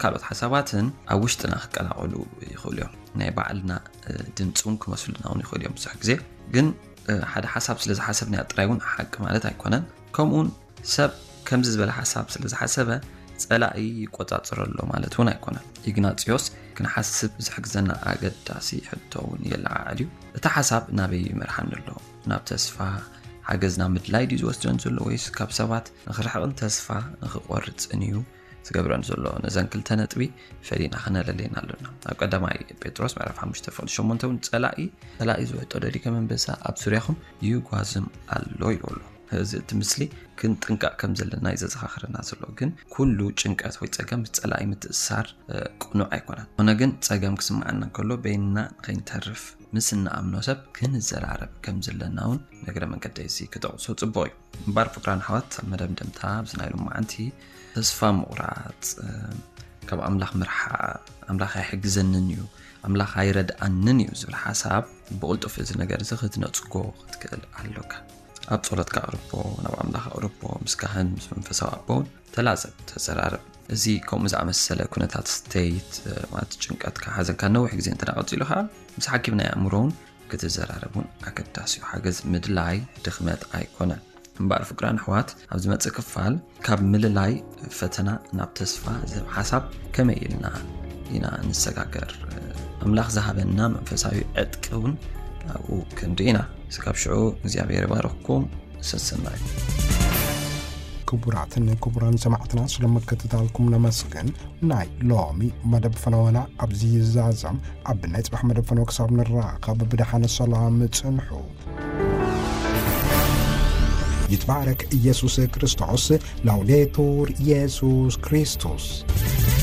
ካልኦት ሓሳባትን ኣብ ውሽጥና ክቀላቐሉ ይኽእሉ እዮም። ናይ ባዕልና ድምፂ እውን ክመስሉና እውን ይኽእሉ እዮም። ብዙሕ ግዜ ግን ሓደ ሓሳብ ስለ ዝሓሰብናዮ ጥራይ እውን ሓቂ ማለት ኣይኮነን። ከምኡውን ሰብ ከምዚ ዝበለ ሓሳብ ስለ ዝሓሰበ ጸላኢ ይቆጻጸሮ ኣሎ ማለት እውን ኣይኮነን። ኢግናጽዮስ ክንሓስብ ዝሕግዘና ኣገዳሲ ሕቶ እውን የለዓዕል እዩ። እቲ ሓሳብ ናበይ ይመርሓኒ ኣሎ? ናብ ተስፋ ሓገዝ ናብ ምድላይ ድዩ ዝወስደን ዘሎ ወይስ ካብ ሰባት ንኽርሕቕን ተስፋ ንኽቆርጽን እዩ ዝገብረን ዘሎ? ነዘን ክልተ ነጥቢ ፈሊና ክነለለየን ኣሎና። ኣብ ቀዳማይ ጴጥሮስ ምዕራፍ ሓሙሽተ ፍቕዲ ሸሞንተ እውን ጸላኢ ጸላኢ ዝውሕጦ ደሊከ መንበሳ ኣብ ዙርያኹም ይጓዝም ኣሎ ይብሎ። እዚ እቲ ምስሊ ክንጥንቀቕ ከም ዘለና እዩ ዘዘኻኽረና ዘሎ። ግን ኩሉ ጭንቀት ወይ ጸገም ምስ ጸላኢ ምትእስሳር ቅኑዕ ኣይኮነን። ኾነ ግን ጸገም ክስምዓና እንከሎ በይንና ንኸይንተርፍ ምስ እንኣምኖ ሰብ ክንዘራረብ ከም ዘለና እውን ንእግረ መንገደይ እዚ ክጠቕሶ ጽቡቕ እዩ። እምበኣር ፍቅራን ኣሕዋት ኣብ መደምደምታ ኣብዚ ናይ ሎማዓንቲ ተስፋ ምቑራጽ ካብ ኣምላኽ ምርሓቕ ኣምላኽ ኣይሕግዘንን እዩ ኣምላኽ ኣይረድኣንን እዩ ዝብል ሓሳብ ብቕልጡፍ እዚ ነገር እዚ ክትነጽጎ ክትክእል ኣሎካ። ኣብ ጸሎትካ ኣቕርቦ፣ ናብ ኣምላኽ ኣቕርቦ፣ ምስ ካህን ምስ መንፈሳዊ ኣቦ እውን ተላዘብ፣ ተዘራረብ። እዚ ከምኡ ዝኣመሰለ ኩነታት ስተይት ማለት ጭንቀትካ ሓዘንካ ነዊሕ ግዜ እንተ ቀጺሉ ከዓ ምስ ሓኪም ናይ ኣእምሮ እውን ክትዘራረብ እውን ኣገዳሲ እዩ። ሓገዝ ምድላይ ድኽመት ኣይኮነን። እምበኣር ፍቅራን ኣሕዋት ኣብ ዝመጽእ ክፋል ካብ ምልላይ ፈተና ናብ ተስፋ ዝህብ ሓሳብ ከመይ ኢልና ኢና ንሰጋገር? ኣምላኽ ዝሃበና መንፈሳዊ ዕጥቂ እውን ኣብኡ ክንርኢ ኢና። ስጋብ ሽዑ እግዚኣብሔር ይባርኽኩም። ሰሰናዩ። ክቡራትን ክቡራን ሰማዕትና ስለምክትታልኩም ነመስግን። ናይ ሎሚ መደብ ፈነወና ኣብዚ ይዛዘም። ኣብ ናይ ጽባሕ መደብ ፈነወ ክሳብ ንራኸብ ብደሓነ ሰላም ጽንሑ። ይትባረክ ኢየሱስ ክርስቶስ። ላውዴቱር ኢየሱስ ክርስቶስ።